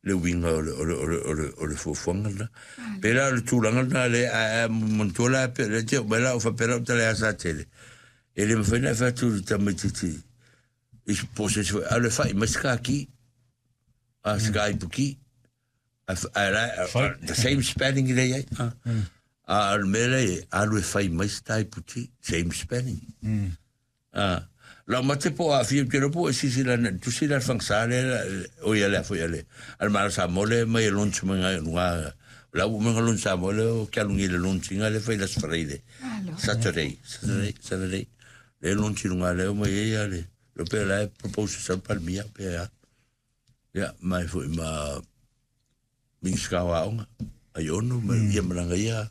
Le uiga o le, o le, o le, o le, o le fuafuaga lena. Pe la o le tulaga lena le, a, a, manatua la, pe le te o mai la o faapea lau tala ia Satele. E le mafai ona e fai atu i le tamaitiiti i se po o se isi foi, alu e fai mai se kaki, a se ka ipuki, a, a, la, a, the same spelling le iai. A, a, o le mea lea e alu e fai mai se ta iputi, same spelling. A, laumate po o aafia, ou te iloa po ua e silasila ane i le tusi lea a le Fagasa lea, o ia lea foi a le, a le Malo Samoa lea e aumai e launch mai ngai luga, o la ua uma ona launch Samoa lea o ke alu nei i le launch ina lea e fai i le Aso Faraile, Saturday, Saturday, Saturday, lea e launch i luga lea o aumai ai a le, iloa pe o la e propose sau le Palemia pe a. Ia, mai foi ma Minisita o Aoga, Aiono, ma ia malaga ia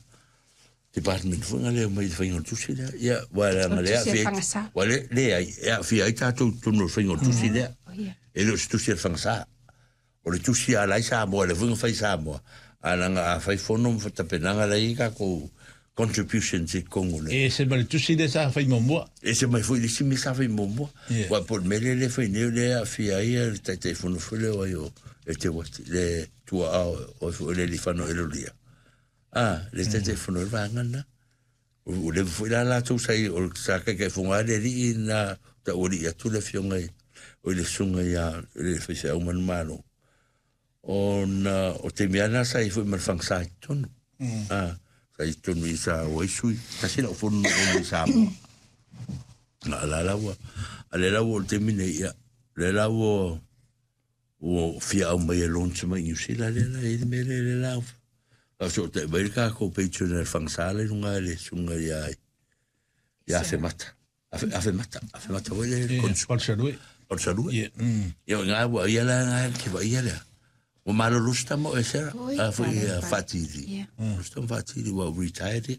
department foi nga lea mai le faiga o le tusi lea. Ia, ua leaga le aafia ai, ua le, leai, e aafia ai tatou i totonu o le faiga o le tusi lea. E le o se tusi a le Fagasa. O le tusi a la i Samoa, lea foi na fai i Samoa, a leaga a fai fono ma tapenaga la i ai tatou contributions i totonu o le... E ese ma le tusi lea sa fai muamua. E ese mai foi le isi mea sa fai muamua. Yeah. Ua po o le mea lea le fai nei o lea e aafia ai le Taitaifono foi lea o ai o e te wati, le tuaa o foi le Lifano Elolia. Ah, le Taitaifono o le vaega lena. Ua leva foi la latou sa i, o sa taitaifono lava le alii na taualii atu le afioga i, o le susuga ia le faifeau manumalo. Ona o taimi lava na sa i ai foi ma le fagasa i totonu. Ah, sa i totonu i sa o ai sui. Tasi lau fono na o mai Samoa. A la la ua, a le la ua o le taimi nei, ia, le la ua, ua fia au mai e launch mai New Zealand lea la, i le mea lea le la, faafesootai mai le tatou patron a le fagasa le luga le susuga ia, ia Afemata. Afe, afe mata, afe mata foi le Ia, konsu. Palusalue. Palusalue. Ia. Ia, o ngā ua ia la ngā ke wa ia lea. Ua malolo se tama o e Sarah, Oi, a foi tala a pa. Whatiri. Ia. Lo se tama Whatiri ua retired ia.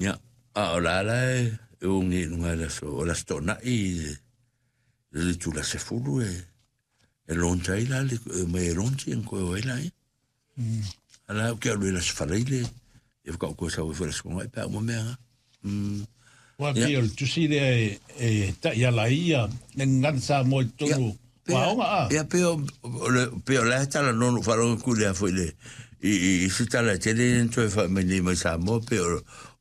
Ia, a o la la e, e o nge lunga le aso, o la se to'ana'i i le, le tula sefulu e, e launch ai la, le, e mai e launch ia koe o ai la ia. Ala ke alu e la se faleile, e whakao koe sa foi la se konga e pā uma mea nga. Ua Ia. pei o le tusi lea e, e taʻiala ai ia le gagana Samoa i totonu o aoga a. Ia pe o, o le, pe o la e tala nono wharonga ku lea foi le, i, i, i se tala e tele ni toe wha mai nei mai Samoa, pe o,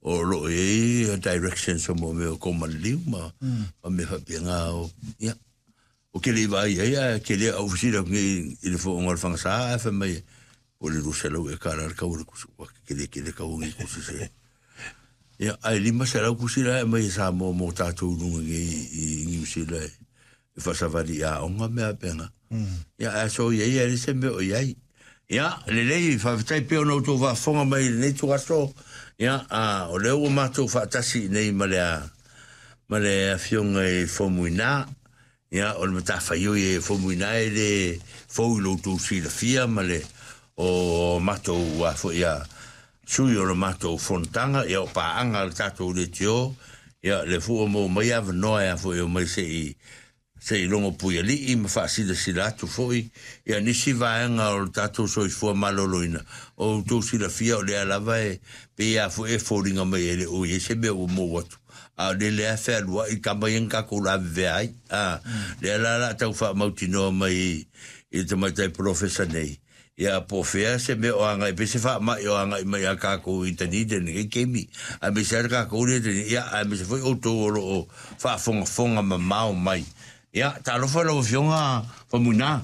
o lo e i directions o mo mea o kōmanliu ma, ma mea whapea ngā o, ia. O ke le i vaai ai, ae ke le au fesili atu nei i le fo'oga o le Fagasa, ae fai mai, O le 200 eka la le kau o le kusi, ua kele kele kau o nei kusi se. Ia, ae 500 kusi la e aumai e Samoa mo tatou i luga nei i Niu Sila e faasavali i aoga mea faapena. Ia, ae so i ai, e leai se mea o i ai. Ia, lelei, faafetai pea ona outou faafofoga mai i lenei ituaso. Ia, a, o lea ua matou faatasi i nei ma le, ma le Afioga i Fomuina, Ia, o le matafaioi e Fomuina e le fou i lo outou silafia ma le o matou a foi a sui o le matou fonotaga, ia o paaga a le tatou leitio, ia le foi ua maua mai avanoa e a foi omai se i se i logo puialii ma faasilasila atu foi ia nisi vaega o le tatou soifua maloloina. O outou silafia o lea lava e pei a foi e foliga mai e le o i ai se mea ua mou atu. A o le lea e fealuai i tama ia na tatou lavevea ai, a, lea la o le a tau faamautinoa mai i le tamaitai polofesa nei, ia po o fea se mea o agai pea se faamai o agai mai ia tatou i Dunedin i lenei taimi, aemaise lava le tatou lea i Dunedin, ia aemaise foi outou o lo o faafogafoga mamao mai. Ia, talofa i lau Afioga Faumuina.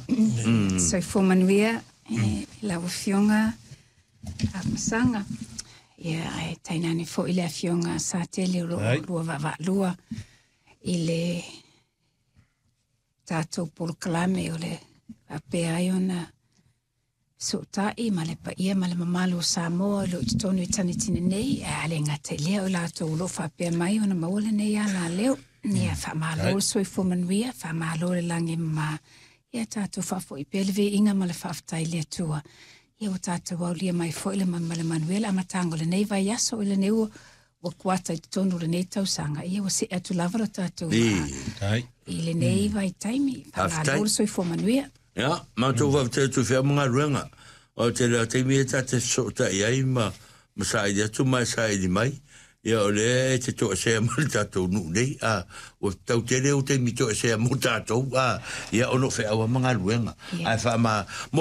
Soifua manuia i lau Afioga Afamasaga. Ia, ae tainane foi le Afioga Satele o lo o lua vaavaalua i le tatou polokalame o le faapea ai ona fesootai ma le paia ma le mamalu o Samoa o lo o i totonu i Tanitina nei, ae a le gata i lea o i latou o lo o faapea mai ona maua lenei alaleo. Ia, faamalo le soifua manuia, faamalo le lagi e mama. Ia tatou faafoi pea le viiga ma le faafetai i le Atua. Ia ua tatou aulia mai foi le ma le manuia le amataga o lenei vaiaso i lenei ua ua kuata i totonu o lenei tausaga. Ia ua see atu lava lo tatou vaa i lenei vaitaimi. Faamalo le soifua manuia. Ia, matou faafetai atu i fea ma galuega. O le tele o taimi e ta te fesootai ai ma ma saili atu ma e saili mai, ia o lea e te toesea ma le tatou nuu nei, a, ua tau tele ou taimi toesea mo tatou, a, ia ona o feau lava ma galuega. Ae faama, mo